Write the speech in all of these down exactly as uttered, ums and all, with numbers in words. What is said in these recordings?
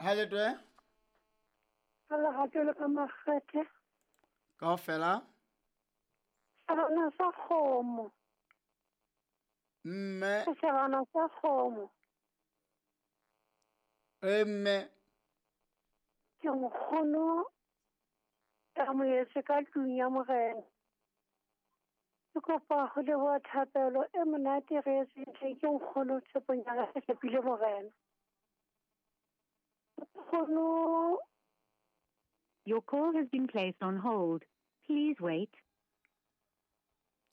Ha le twe? Ka lerato le ka makgethe. Kaofela? Sejana sa kgomo. Mme. Sejana sa kgomo. E mme. Ke nkgono ka moetse ka tlung ya morena. Ke kopa ho leboha thapelo e monate re e ke nkgono tshepong ya ka tshepile morena. Nkgono. Your call has been placed on hold. Please wait.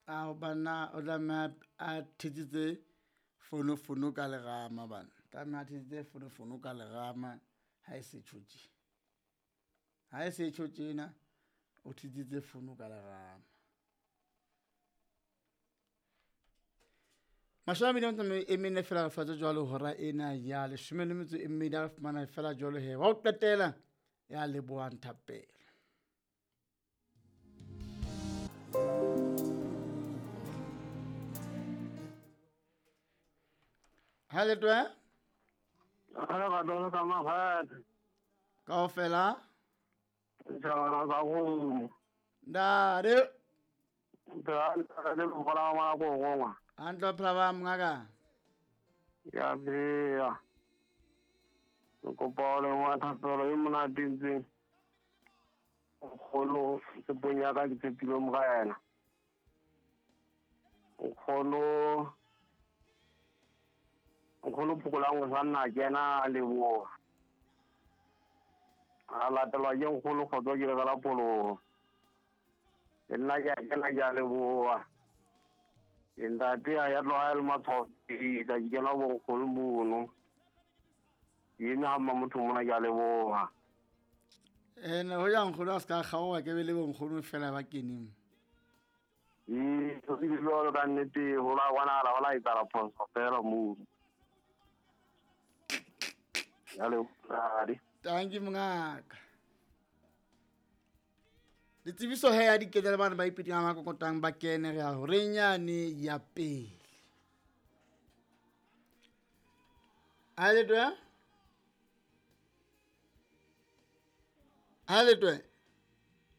A bana o tlameha a thetsitse fono fono ka lerama bana. Tlameha a thetsitse fono fono ka lerama ha e se tjho tje. Ha e se tjho tjena o thetsitse fono ka lerama. Mashome a mabedi a metso e mene fela re fatse jwalo hora ena ya leshome le metso e mmedi a re fumana fela jwalo he. Wa ho qetela ya lebohang thapelo. Ha le twe? Ha le ka dona ka makgethe. Kaofela? Sejana sa kgomo. Ntate. Ntate le mokgola wa ko gongwa. Hantle phela ba mongaka. Ya bea. Ke kopa ho leboha thapelo e monate ntseng. Nkgono tshepong ya ka ke tshepile morena. Nkgono nkgono phokolang o sa nna kena a leboha. A latelwa ke nkgono kgotso ke le ka la pholoho. Le nna ke a kena ke a leboha. Ntate a ya tloha le matshwao ke tla ke kena bo nkgono mono. Ke eme ha mma motho mona ke a leboha. Ene ho ya nkgono a ska kgaoha ke be le bo nkgono fela ba keneng. Ee, so ke jwalo ka nnete ho la bonahala ho la etsahala phoso fela moo. Ya leboha. Thank you mongaka. Ditsebiso he ya dikete le bana ba ipiting a makokotang ba kene re ya horeng yane ya pele. Ha le twe? Ha le twe?